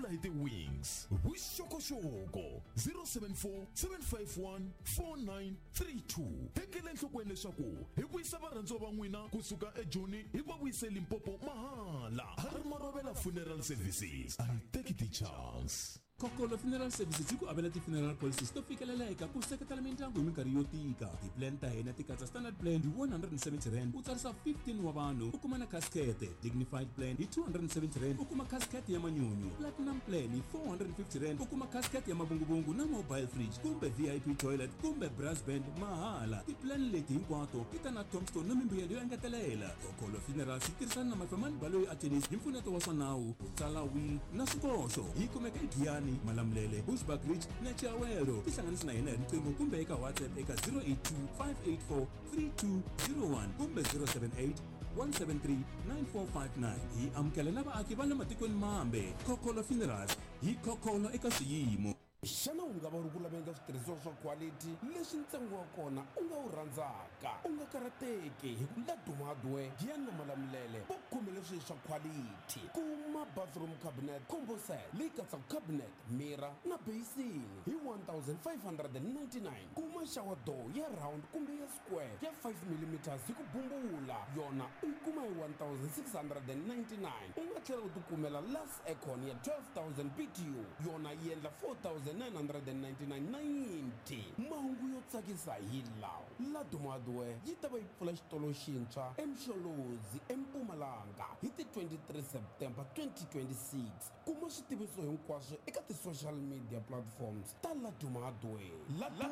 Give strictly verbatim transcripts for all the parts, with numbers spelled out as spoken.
hi ti-wings. Vuxokoxoko zero seven four seven five one four nine three two. Tekela enhlokweni leswaku hi vuyisa varhandziwa va n'wina kusuka eJoni hi va vuyise Limpopo mahala. Harry Marobela Funeral Services. A hi teki ti-chance. Kokolo Funeral Services yi ku avela ti-funeral policies to fikeleleka ku seketela mindyangu hi minkarhi yo tika. Ti-plan ta hina ti katsa standard plan hi one hundred and seventy rand u tsarisa fifteen wa vanhu u kuma na casket, dignified plan hi two hundred and seventy rand u kuma casket ya manyunyu, platinum plan hi four hundred and fifty rand u kuma casket ya mavunguvungu na mobile fridge kumbe V I P toilet kumbe brass band mahala. Ti-plan leti hinkwato ti ta na tombstone na mimbuyelo yo engetelela. Kokolo Funerals yi tirhisana na Mafemani Baloyi Attorneys hi mpfuneto wa swa nawu, ku tsala will na swikoxo. Yi kumeka eGiyani, Malamulele, Bushbuckridge na Chiawelo. Tihlanganisi na hina hi riqingho kumbe eka WhatsApp eka zero eight two five eight four three two zero one kumbe zero seven eight one seven three nine four five nine. Hi amukela na vaaki va le matikweni mambe. Kokolo Funerals hi kokolo eka swiyimo. Xana u nga va u ri ku laveni ka switirhisiwa swa quality leswi ntsengo wa kona u nga wu rhandzaka? U nga karhateki hi ku Laduma Hardware, Giyani na Malamulele va khomele swilo swa quality. Kuma bathroom cabinet combo set leyi katsaka cabinet, mirror na basin hi one thousand five hundred and ninety-nine. Kuma shower door ya round kumbe ya square ya five millimeters hi ku bumbula, yona u yi kuma hi one thousand six hundred and ninety-nine. U nga tlhela u tikumela last aircon ya twelve thousand B T U, yona yi endla four thousand nine hundred and ninety-nine ninety. Mahungu yo tsakisa hi lawa. Laduma Hardware yi ta va yi pfula xitolo xintshwa eMsholozi eMpumalanga hi ti twenty-three September twenty twenty-six. Kuma switiviso hinkwaswo eka ti-social media platforms ta Laduma Hardware. Laduma,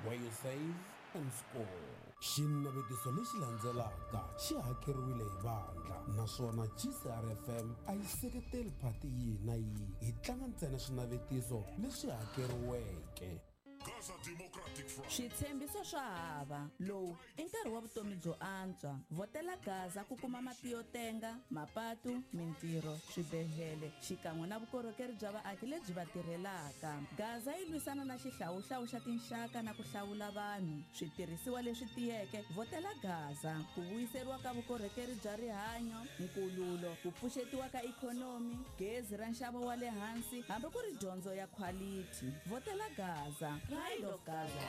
where you save and score. Xinavetiso lexi landzelaka xi hakeriwile hi vandla naswona G C R F M a yi seketeli phati yihi na yihi. Hi tlanga ntsena swinavetiso leswi hakeriweke. Gaza Democratic Front. Switshembiso swa hava. Lowu i nkarhi wa vutomi byo antswa. Vhotela Gaza ku kuma mati yo tenga, mapatu, mintirho, swibedhlele xikan'we na vukorhokeri bya vaaki lebyi va tirhelaka. Gaza yi lwisana na xihlawuhlawu xa tinxaka na ku hlawula vanhu. Switirhisiwa leswi tiyeke, vhotela Gaza. Ku vuyiseriwa ka vukorhokeri bya rihanyo, nkululo, ku pfuxetiwa ka ikhonomi, gezi ra nxavo wa le hansi, hambi ku ri dyondzo ya quality. Vhotela Gaza. Pride of Gaza.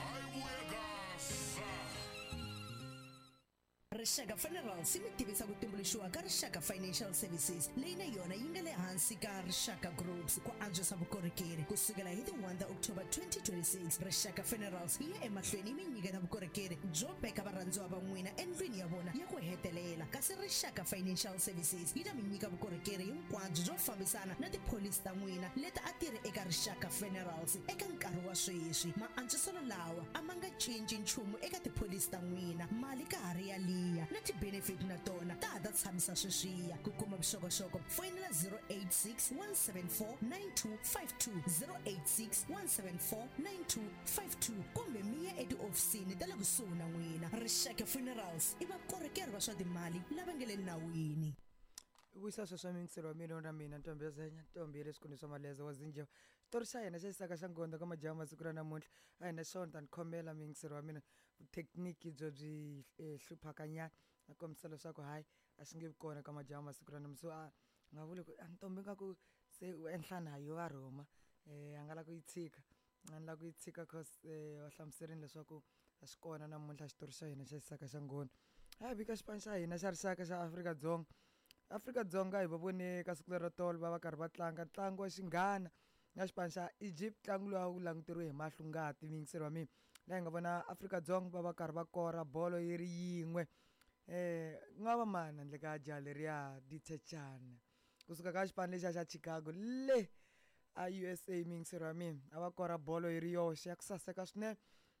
Rixaka Funerals yi mi tivisa ku tumbuluxiwa ka Rixaka Financial Services leyi na yona yi nga le hansi ka Rixaka Groups ku antswisa vukorhokeri. Ku sukela hi ti one ta October twenty twenty-six, Rixaka Funerals yi ya emahlweni yi mi nyiketa vukorhokeri byo veka varhandziwa va n'wina endlwini ya vona ya ku hetelela. Kasi Rixaka Financial Services yi ta mi nyika vukorhokeri hinkwabyo byo fambisana na tipholisi ta n'wina leti a ti ri eka Rixaka Funerals eka nkarhi wa sweswi. Maantswiselo lawa a ma nga cinci nchumu eka tipholisi ta n'wina. Mali ka ha ri ya liya na ti-benefit na tona ta ha ta tshamisa sweswiya. Ku kuma vuxokoxoko foyinela zero eight six one seven four nine two five two, zero eight six one seven four nine two five two kumbe mi ya etihofisini ta le kusuhi na n'wina. Rixaka Funerals i vakorhokeri va swa timali lava nga le nawini. Vuyisa sweswo miyingiselo wa mina na mina Ntombi ya Zenya, Ntombi ya le swikhundleni swa Maleza wa Zinjeva. Xitori xa hina xa xisaka xa Ngonda ka majaha masiku ra namuntlha a hi na xona, ta ni khomela miyingiselo wa mina. Vuthekiniki byo byi hluphaka nyana na kombisa leswaku hayi a xi nge vi kona ka majaha masiku ra namuntlha. So a nga vuli ku a Ntombi ingaku se u enhla na yo va rhuma, a nga la ku yi tshika, a ni la ku yi tshika cause va hlamuserini leswaku a xi kona namuntlha xitori xa hina xa xisaka xa Ngoni. A hi vika xipano xa hina xa rixaka xa Afrika-Dzonga. Afrika-Dzonga hi va vone ka siku lero tolo va va karhi va tlanga ntlangu wa xinghana na xipano xa Egypt, ntlangu lowu a wu languteriwe hi mahlo ngati miyingiselo wa mina. Laha hi nga vona Afrika-Dzonga va va karhi va kora bolo yi ri yin'we. Eh ku nga va mani handle ka jaha leriya Dithejane kusuka ka xipano lexiya xa Chicago le a U S A miyingiselo wa mina, a va kora bolo yi ri yoxe ya ku saseka swinene.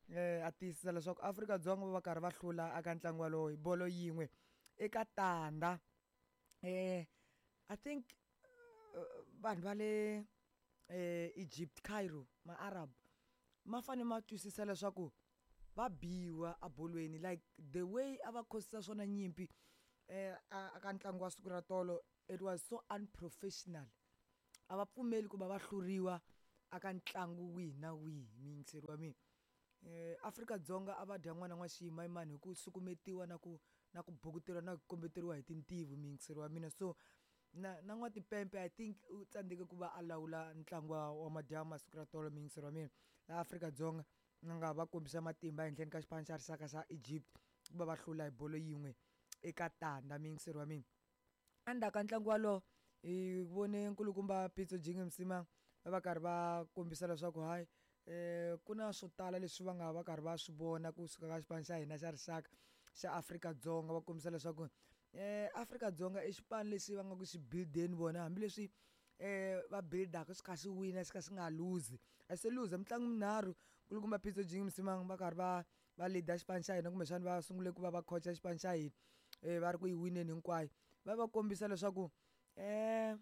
Eh a tiyisisa leswaku Afrika-Dzonga va va karhi va hlula eka ntlangu walowo hi bolo yin'we eka tandza. Eh I think vanhu va le eh Egypt, Cairo, ma-Arab ma fanele ma twisisa leswaku va biwa ebolweni, like the way a va khosisa swona nyimpi eh a ka ntlangu wa siku ra tolo, it was so unprofessional. A va pfumeli ku va va hluriwa aka ntlangu wihi na wihi miyingiseri wa mina. Eh Afrika-Dzonga a va dya n'wana n'wa xiyimayimani hi ku sukumetiwa na ku na ku bukuteriwa na ku kombeteriwa hi tintivu miyingiseri wa mina. So na na n'watipempe I think u tsandzeke ku va a lawula ntlangu wa wa madyambu masiku ra tolo muyingiseri wa mina laha Afrika-Dzonga va nga va kombisa matimba ehenhleni ka xipano xa rixaka xa Egypt ku va va hlula hi bolo yin'we eka tandza muyingiseri wa mina. Endzhaku ka ntlangu walowo hi vone nkulukumba Pitso Jingim Msimang va va karhi va kombisa leswaku hayi um ku na swo tala leswi va nga va karhi va swi vona kusuka ka xipano xa hina xa rixaka xa Afrika-Dzonga va kombisa leswaku um Afrika-Dzonga i xipano lexi va nga ku xi build-eni vona hambileswi um va build-aka swi kha swi wina swi kha swi nga luzi a se luza mitlangu minharhu nkulukumba Pitso Jingim Msimang va karhi va va lead-a xipano xa hina kumbexana va sungule ku va va coach-a xipano xa hina um va ri ku yi wineni hinkwayo va va kombisa leswaku um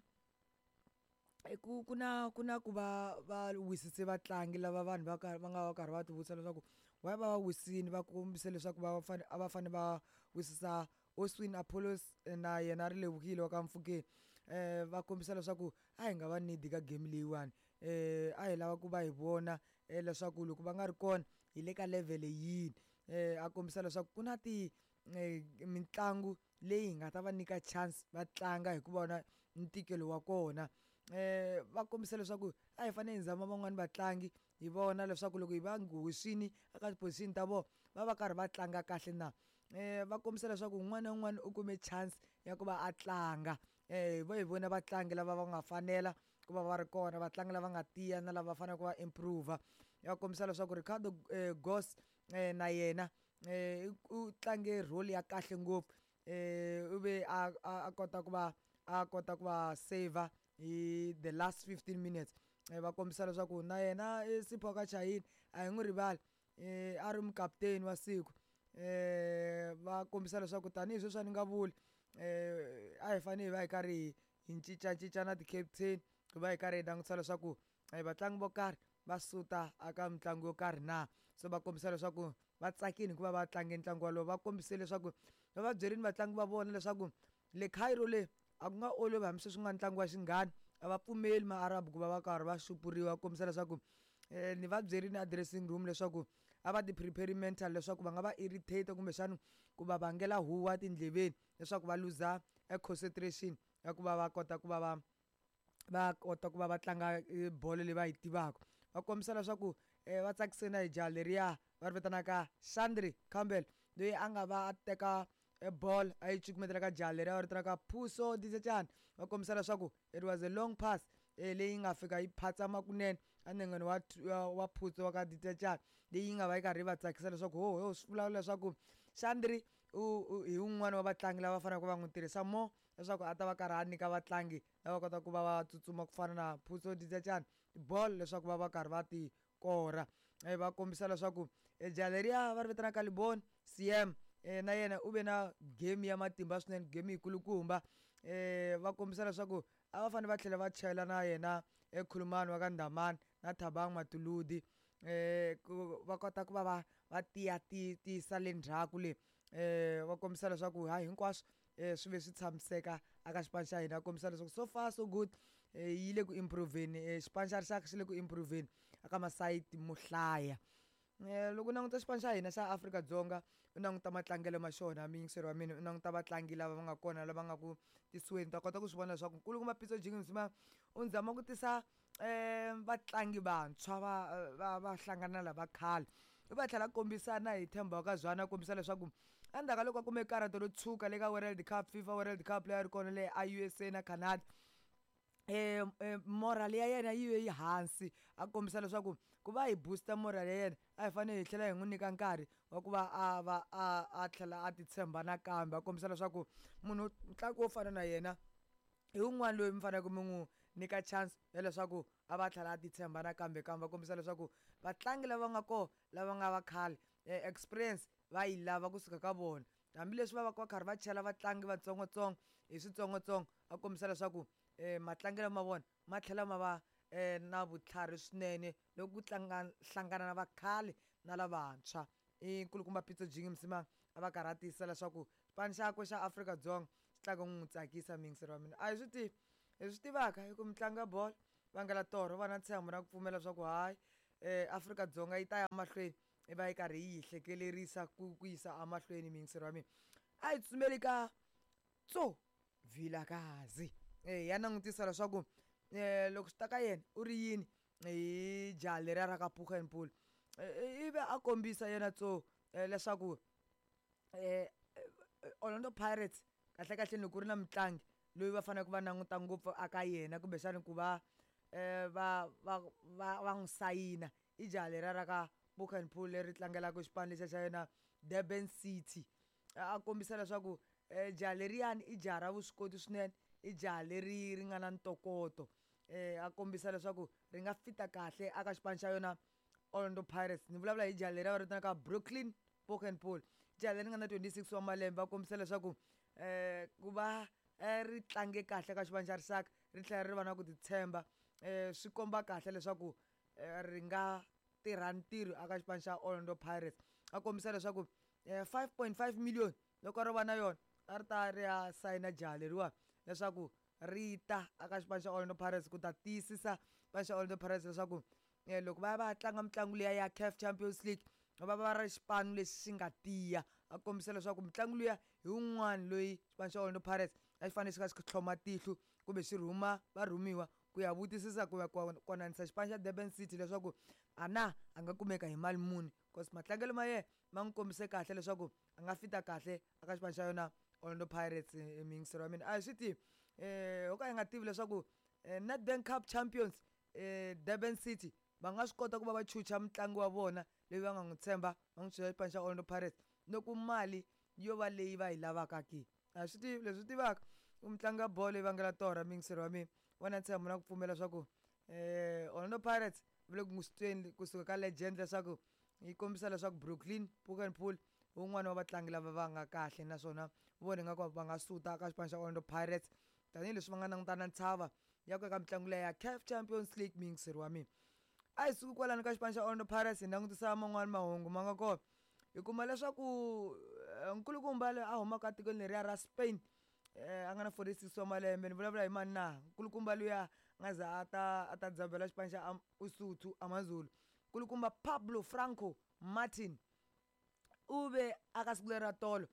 ku ku na ku na ku va va wisise vatlangi lava vanhu va karhi va nga va karhi va ti vutisa leswaku why va va wisini va kombise leswaku va fane a va fane va wisisa Oswin Apollos na yena ri levukile wa ka Mfukeni um va kombisa leswaku a hi nga va need ka game leyiwani um a hi lava ku va hi vona leswaku loko va nga ri kona hi le ka level yini um a kombisa leswaku ku na ti mitlangu leyi hi nga ta va nyika chance va tlanga hi ku vona ntikelo wa kona um va kombisa leswaku a hi fanele hi zama van'wani vatlangi hi vona leswaku loko hi va hoxini eka ti-position ta vona va va karhi va tlanga kahle na um va kombisa leswaku un'wana na un'wana u kume chance ya ku va a tlanga um vo hi vona vatlangi lava va nga fanela ku va va ri kona vatlangi lava nga tiya na lava faneleke va improve ya kombisa leswaku Ricardo Goss na yena um u tlange role ya kahle ngopfu um u ve a a kota ku va a kota ku va saver hi the last fifteen minutes va kombisa leswaku na yena Sipho ka Chayini a hi n'wi rivali um a ri mukaputeni wa siku um va kombisa leswaku tanihi sweswi a ni nga vuli um a hi fanele hi va hi karhi hi cincacinca na ti-captain ku va hi karhi hi langutisa leswaku vatlangi vo karhi va suta aka mitlangu yo karhi na so va kombisa leswaku va tsakile hikuva va tlange ntlangu walowo va kombise leswaku va va byerini vatlangi va vona leswaku le Cairo le a ku nga olovi hambi sweswi ku nga ntlangu wa xinghana a va pfumeli maarabu ku va va karhi va xupuriwa kombisa leswaku um ni va byerini a dressing room leswaku a va ti prepare mental leswaku va nga va irritate kumbexana ku va vangela huwa tindleveni leswaku va luza e concentration ya ku va va kota ku va va va kota ku va va tlanga bolo leyi va yi tivaka va kombisa leswaku um va tsakise na hi jaha leriya va ri vitanaka Shandri Campbell loyi a nga va a teka ball a yi cukumetela ka jaha leriya va ri vitanaka Phuso Disechana va kombisa leswaku it was a long pass leyi nga fika yi phatsama kunene enengeni wa wa Phuso wa ka Disechana leyi nga va yi karhi yi va tsakisa leswaku ho ho swi vula leswaku Shandri u hi wun'wani wa vatlangi lava faneleke va n'wi tirhisa more leswaku a ta va karhi a nyika vatlangi lava kotaka ku va va tsutsuma ku fana na Phuso Disechana tibolo leswaku va va karhi va ti kora va kombisa leswaku jaha leriya va ri vitanaka Libon C M na yena u ve na game ya matimba swinene game yikulukumba um va kombisa leswaku a va fanele va tlhela va chayela na yena ekhulumani wa ka Ndhamani na Thabang Matuludi um ku va kota ku va va va tiya tiyisa le ndzhaku le um va kombisa leswaku hayi hinkwaswo um swi ve swi tshamiseka aka xipano xa hina kombisa leswaku so far so good yi le ku improveni xipano xa rixaka xi le ku improveni aka masayiti mo hlaya loko u languta xipano xa hina xa Afrika-Dzonga u languta matlangelo ma xona muyingiseri wa mina u languta vatlangi lava va nga kona lava nga ku tisiweni ta kota ku swi vona leswaku nkulukumba Pitso Jingim Msimang u zama ku tisa um vatlangi vantshwa va va va hlangana na lava khale u va tlhela kombisana hi Themba wa ka Zwane a kombisa leswaku endzhaku ka loko a kume karata ro tshuka le ka World Cup FIFA World Cup leyi a ri kona le a U S A na Canada um moral ya yena yi ve yi hansi a kombisa leswaku ku va hi booster moral ya yena a hi fanele hi tlhela hi n'wi nyika nkarhi wa ku va a va a a tlhela a titshemba nakambe a kombisa leswaku munhu mutlangi wo fana na yena hi wun'wana loyi mi faneleke mi n'wi nyika chance ya leswaku a va tlhela a titshemba nakambe kambe va kombisa leswaku vatlangi lava nga kona lava nga va khale experience va yi lava kusuka ka vona hambileswi va va va karhi va chela vatlangi vatsongotsongo hi switsongotsongo a kombisa leswaku um matlangelo ma vona ma tlhela ma va um na vutlhari swinene loko ku tlanga hlangana na vakhale na lavantshwa i nkulukumba Pitso Jingim Msimang a va karhi a tiyisisa leswaku xipano xakwe xa Afrika-Dzonga xi tlanga n'wi tsakisa muyingiseri wa mina a hi swi tivi hi swi tivaka hi ku mitlangu ya bolo vangela torho va na ntshembo na ku pfumela leswaku hayi um Afrika-Dzonga yi ta ya mahlweni i va yi karhi yi hi hlekelerisa ku ku yisa emahlweni muyingiseri wa mina a hi tsutsumeli ka Tso Vilakazi. eh ya langutisa leswaku eh loko swi ta ka yena u ri yini hi jaha leriya ra ka Poogenpoel. Ivi a kombisa yena tso leswaku eh Orlando Pirates kahle kahle loko ku ri na mutlangi loyi va faneleke va languta ngopfu aka yena kumbexana ku va eh va va va va n'wi sayina i jaha leriya ra ka Poogenpoel leri tlangelaka xipano lexiya xa yena Durban City. A kombisa leswaku eh jaha leriyani i jaha ra vuswikoti swinene, i jaha leri ri nga na ntokoto. Eh a kombisa leswaku ri nga fita kahle aka xipano xa yona Orlando Pirates. Ni vulavula hi jaha leriya va ri vitanaka Brooklyn Poogenpoel, jaha leri nga na twenty-six wa malembe. Va kombisa leswaku eh ku va ri tlange kahle ka xipano xa rixaka ri tlhela ri va na ku titshemba, eh swi komba kahle leswaku ri nga tirha ntirho aka xipano xa Orlando Pirates. A kombisa leswaku five point five million loko ro va na yona a ri ta ri ya sayina jaha leriwa leswaku ri ta aka xipano xa Orlando Pirates ku ta tiyisisa xipano xa Orlando Pirates leswaku loko va ya va ya tlanga mitlangu liya ya C A F Champions League va va ri xipano lexi xi nga tiya. A kombisa leswaku mutlangi luya hi wun'wani loyi xipano xa Orlando Pirates a xi fanele xi kha xi tlhoma tihlo kumbe xi rhuma varhumiwa ku ya vutisisa ku ya konanisa xipano xa Durban City leswaku a na a nga kumeka hi mali muni, cause matlangelo ma yena ma n'wi kombise kahle leswaku a nga fita kahle aka xipano xa yona Orlando Pirates. Miyingiselo wa mina a hi swi tivi eh ho ka hi nga tivi leswaku Nedbank Cup Champions eh Durban City va nga swi kota ku va va chucha mutlangi wa vona loyi va nga n'wi tshemba va n'wi chucha xipano xa Orlando Pirates loko mali yo va leyi va yi lavaka ke. A swi tivi leswi tivaka u mutlangi wa bolo yi vangela torha miyingiselo wa mina wena ntshembo na ku pfumela leswaku eh Orlando Pirates va le ku n'wi tweni kusuka ka legend leswaku yi kombisa leswaku Brooklyn Poogenpoel wun'wana wa vatlangi lava va nga kahle naswona vona ingaku va nga suta ka xipano xa Orlando Pirates tanihileswi va nga langutana ntshava ya ku eka mitlangu leya ya C A F Champions League. Miyingiselo wa mina a hi suki kwalano ka xipano xa Orlando Pirates hi langutisa man'wani mahungu ma nga kona. Hi kuma leswaku nkulukumba loyi a humaka etikweni leriya ra Spain eh a nga na forty-six wa malembe, ni vulavula hi mani na nkulukumba luya nga za a ta a ta dzabela xipano xa Usuthu AmaZulu, nkulukumba Pablo Franco Martin u ve aka siku leri ra tolo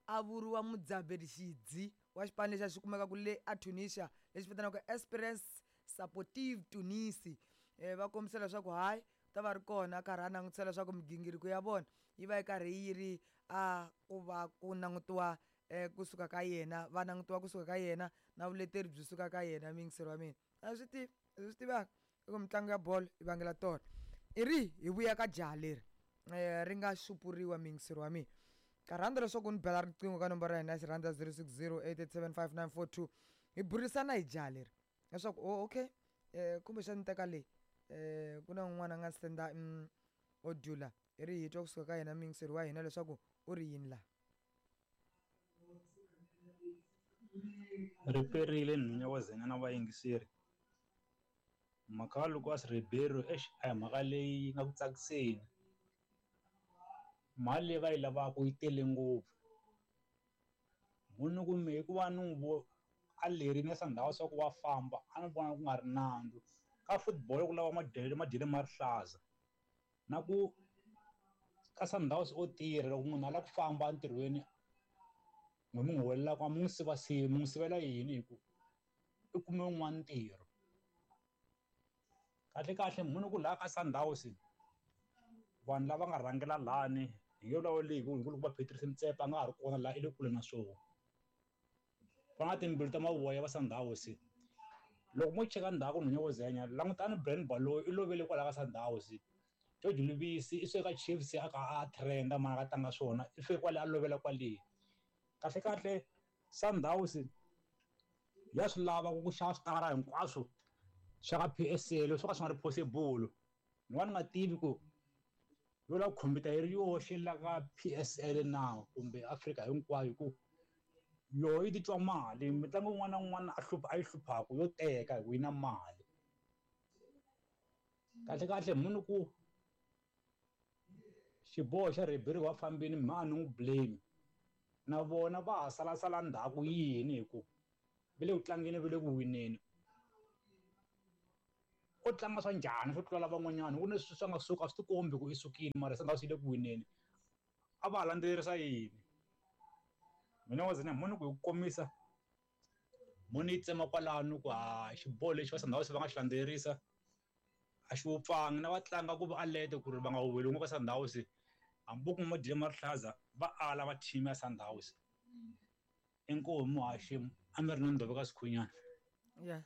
a vuriwa mudzaberi xidzi wa xipano lexi a xi kumekaka le a Tunisia lexi vitaniwaka Esperance Sportive Tunisi. Eh va kombisa leswaku hayi ta va ri kona a karhi a langutisa leswaku migingiriko ya vona yi va yi karhi yi ri a ku va ku langutiwa eh kusuka ka yena, va langutiwa kusuka ka yena na vuleteri byi suka ka yena. Miyingiselo wa mina a swi tivi leswi tivaka i ku mitlangu ya bolo yi vangela tona. I ri hi vuya ka jaha leri eh ri nga xupuriwa miyingiselo wa mina ka rhandza leswaku ni bela riqingho ka nomboro ya hina ya xirhandza zero six zero eight eight seven five nine four two hi burisana hi jaha leri leswaku oh okay eh kumbexani teka leyi eh ku na un'wana a nga senda audio la i ri hi twa kusuka ka yena miyingiselo wa hina leswaku u ri yini la. Ri perile nhunya wa zenya na vayingiseri. Mhaka ya Lucas Ribeiro eish a hi mhaka leyi nga ku tsakiseni. Mali leyi va yi lavaka yi tele ngopfu. Munhu kumbe hikuva ni n'wi a lerile Sundowns swa ku wa famba a ni vona ku nga ri nandzu. Ka football ku lava madyelo madyelo ma rihlaza na ku ka Sundowns o tirha loko munhu a lava ku famba entirhweni n'wi mi n'wi holelaka a mi n'wi sivasivi mi n'wi sivela yini hi ku i kume wun'wana ntirho. Kahle kahle munhu ku laha ka Sundowns vanhu lava nga rhangela lani hi nge vulavuli hi ku hi ku loko va Patrice Motsepe a nga ha ri kona laha i le kule na swona. Va na timbilu ta mavoya va Sundowns. Loko mo cheka ndzhaku nhunya wo zenya langutani Brian Baloyi i lovele kwalaho ka Sundowns. George Lubisi i suke ka Chiefs a ka a trenda mara a ka tlanga swona i fike kwale a lovela kwale. Kahle kahle Sundowns ya swi lava ku xava switara hinkwaswo swa ka P S L swo ka swi nga ri possible. Ni va ni nga tivi ku yo lava ku khompyuta yi ri yoxe la ka P S L na kumbe Afrika hinkwayo hi ku yoho yi titwa mali mitlangu yin'wana na yin'wana a hlupha a yi hluphaka yo teka hi ku yi na mali. Kahle kahle munhu ku xiboho xa Ribeiro wa fambini mha a ni n'wi blame na vona va ha salasala ndzhaku yini hi ku va le ku tlangeni va le ku wineni. O tlanga swa njhani swo tlula lavan'wanyana ku ni sweswi swi nga suka a swi tikombi ku i sukile mara Sundowns yi le ku wineni a va ha landzelerisa yini. Mina wa zina munhu ku hi ku komisa Mo ni yi tsema kwalano ku ha xiboho lexi va Sundowns va nga xi landzelerisa a xi wupfangi na va tlanga ku va alete ku ri va nga weli n'we ka Sundowns hambi ku ma dye rihlaza va ala va team ya Sundowns. Inkomu muhaxi a mi ri na Ndove ka Sikhunyana. Ya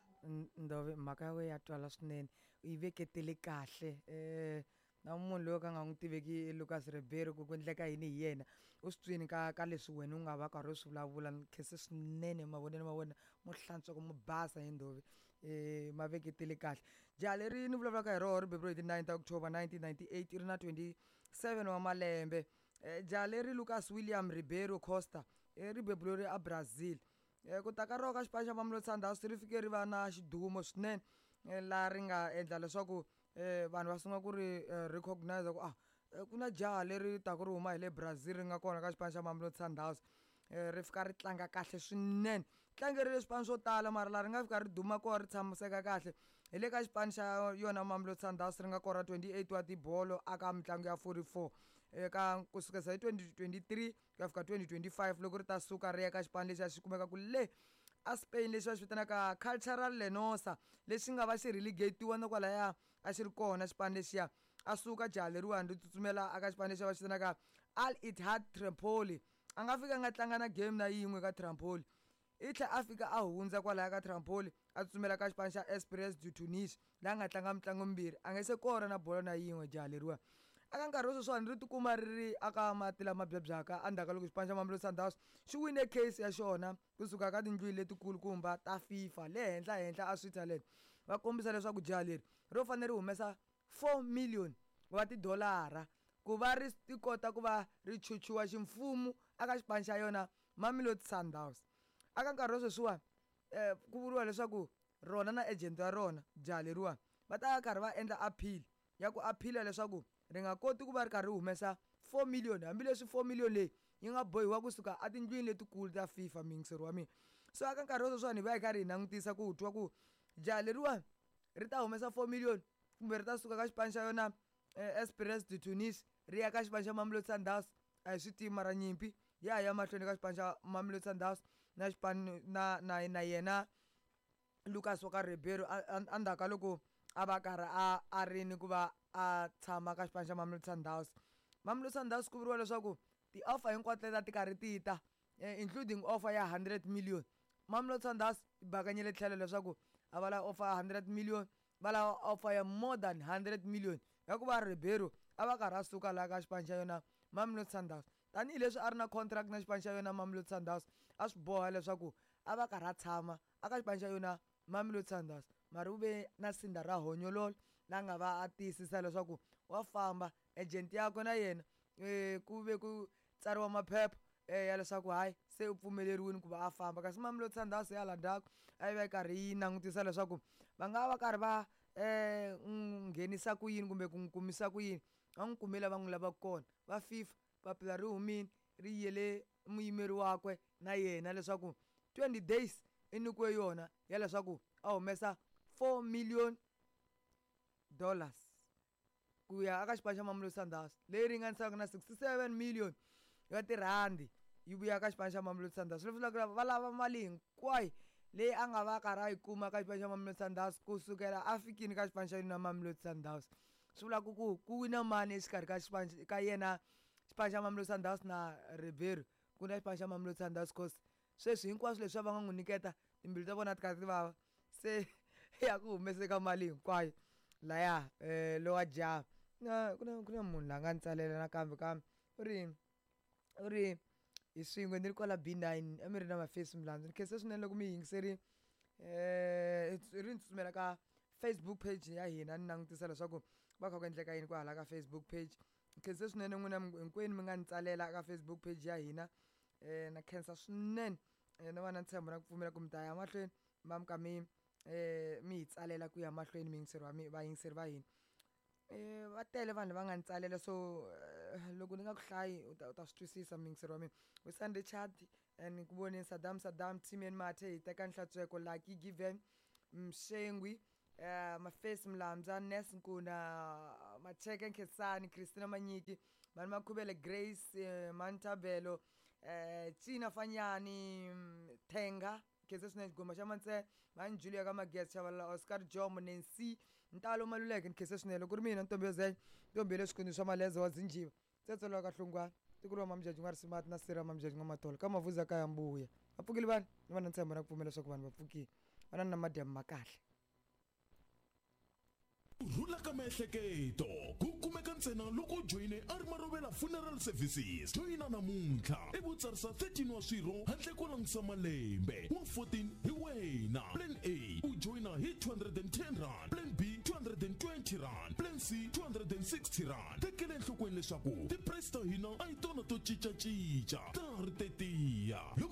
Ndove mhaka ya wena ya twala swinene u yi veketele kahle um na munhu loyi ka nga n'wi tiveki Lucas Ribeiro ku ku endleka yini hi yena u swi twini ka ka leswi wena u nga va karhi u swi vulavula ni khense swinene mavonelo ma wena mo hlantswa ku mo basa hi Ndove um ma veketele kahle. Jaha leri ni vulavulaka hi roho ri beburiwe hi ti nine ta October nineteen ninety eight ri na twenty seven wa malembe. Jaha leri Lucas William Ribeiro Costa ri beburiwe a Brazil. Ku ta ka roho ka xipano xa Mamelodi Sundowns ri fike ri va na xidumo swinene laha ri nga endla leswaku vanhu va sungula ku ri recognize ku ah ku na jaha leri taka ri huma hi le Brazil ri nga kona ka xipano xa Mamelodi Sundowns. Ri fika ri tlanga kahle swinene tlangerile swipano swo tala mara laha ri nga fika ri duma kona ri tshamiseka kahle hi le ka xipano xa yona Mamelodi Sundowns ri nga kora twenty eight wa tibolo aka mitlangu ya forty four eka kusukela hi twenty twenty three ku ya fika twenty twenty five loko ri ta suka ri ya ka xipano lexi a xi kumeka ku le a Spain lexi va xi vitanaka Cultural Lenosa lexi nga va xi relegatiwa na kwalaya a xi ri kona xipano lexiya a suka jaha leriwani ri tsutsumela aka xipano lexi va xi vitanaka Al Ittihad Tripoli. A nga fika a nga tlanga na game na yin'we ka Tripoli i tlhela a fika a hundza kwalaya ka Tripoli a tsutsumela ka xipano xa Esperance de Tunis laha nga tlanga mitlangu mimbirhi a nga se kora na bolo na yin'we jaha leriwani. Aka nkarhi wa sweswiwani ri tikuma ri ri aka mati lama byabyaka endzhaku ka loko xipano xa Mamelodi Sundowns xi wine case ya xona kusuka ka tindlwini letikulukumba ta FIFA le henhla henhla a Switzerland va kombisa leswaku jaha leri ro fanele ri humesa four million wa tidolara ku va ri ti kota ku va ri chuchiwa ximfumo aka xipano xa yona Mamelodi Sundowns. Aka nkarhi wa sweswiwani um ku vuriwa leswaku rona na agent ya rona jaha leriwani va ta karhi va endla appeal ya ku appeal-a leswaku ri nga koti ku va ri karhi ri humesa four million hambileswi four million leyi yi nga bohiwa kusuka etindlwini letikulu ta FIFA muyingiseri wa mina. So aka nkarhi wa sweswiwani hi va hi karhi hi langutisa ku twa ku jaha leriwani ri ta humesa four million kumbe ri ta suka ka xipano xa yona Esperance de Tunis ri ya ka xipano xa Mamelodi Sundowns a hi swi tivi mara nyimpi ya ha ya mahlweni ka xipano xa Mamelodi Sundowns na xipano na na na yena Lucas wa ka Ribeiro endzhaku ka loko a va karhi a a ri ni ku va a tshama ka xipano xa Mamelodi Sundowns. Mamelodi Sundowns ku vuriwa leswaku ti-offer hinkwato leti a ti karhi ti ta including offer ya hundred million Mamelodi Sundowns yi bakanyile tlhelo leswaku a va lava offer ya hundred million va lava offer ya more than hundred million ya ku va Ribeiro a va karhi a suka laha ka xipano xa yona Mamelodi Sundowns tanihileswi a ri na contract na xipano xa yona Mamelodi Sundowns a swi boha leswaku a va karhi a tshama aka xipano xa yona Mamelodi Sundowns mara u ve na sinda ra honyololo la nga va a tiyisisa leswaku wa famba agent yakwe na yena um ku ve ku tsariwa maphepha ya leswaku hayi se u pfumeleriwile ku va a famba kasi Mamelodi Sundowns ya hala ndzhaku a yi va yi karhi yi langutisa leswaku va nga va karhi va um nghenisa ku yini kumbe ku n'wi kumisa ku yini va n'wi kumile va n'wi lavaka kona va FIFA papila ri humile ri yele muyimeri wakwe na yena leswaku twenty days i nyikiwe yona ya leswaku a humesa four million dollars ku ya aka xipano xa Mamelodi Sundowns leyi ringanisaka na sixty seven million ya tirhandi yi vuya ka xipano xa Mamelodi Sundowns leswi vulaka va lava mali hinkwayo leyi a nga va karhi a yi kuma ka xipano xa Mamelodi Sundowns kusukela a fikini ka xipano xa yona Mamelodi Sundowns swi vulaka ku ku wina mani exikarhi ka xipano ka yena xipano xa Mamelodi Sundowns na Ribeiro ku na xipano xa Mamelodi Sundowns cause sweswi hinkwaswo leswi va nga n'wi nyiketa timbilu ta vona ti karhi ti vava se ya ku humeseka mali hinkwayo laya um lowa jaha na ku na ku na munhu la nga ni tsalela nakambe kambe u ri u ri hi swin'we ni ri kwala B nine a mi ri na mafesi milandzu ni khense swinene loko mi yingiserile um ri ni tsutsumela ka Facebook page ya hina ni langutisa leswaku va kha ku endleka yini kwahala ka Facebook page ni khense swinene n'wina hinkwenu mi nga ni tsalela ka Facebook page ya hina um na khensa swinene na va na ntshembo na ku pfumela ku mi ta ya mahlweni ma mi ka mi um mi hi tsalela ku ya mahlweni miyingiseri wa mi vayingiseri va hina um va tele vanhu va nga ni tsalela so loko ni nga ku hlayi u ta u ta swi twisisa muyingiseri wa mina Wisan Richard ni ku voneni Saddam Saddam Timian Mathe hi teka Nhlantsweko Lucky Given Mshengwi um Mafesi Mlamza Nes Nkuna Macheke Nkhensani Christina Manyiki Mani Makhubele Grace Mantabelo um Tsina Fanyani Thenga khensa swinene xigoma xa mantsena mhani Julia ka Magezi Chavalala Oscar Jomo Nancy Ntalo Maluleke ni khensa swinene loko ku ri mina ntombi yo zenya ntombi ya le swikwembu swa maleza wa zinjiva tsetselo ka hlungwana tiko ra mamjaji n'wa risimati na sira mamjaji n'wa matolo ka mavuza ka ya mbuya va pfukile vanhu ni va na ntshembo na ku pfumela leswaku vanhu va pfukile va na na madyambu ma kahle. Ku rhula ka miehleketo ku kumeka ntsena loko u joyine a ri Marovela Funeral Services. Joyina namuntlha ivi u tsarisa thirteen wa swirho handle ko langutisa malembe wa fourteen hi wena. Plan A u joyina hi two hundred and ten rand, Plan B two hundred and twenty rand, Plan C two hundred and sixty rand. Tekela enhlokweni leswaku ti-price ta hina a hi tona to cincacinca, ta ha ri tetiya. Loko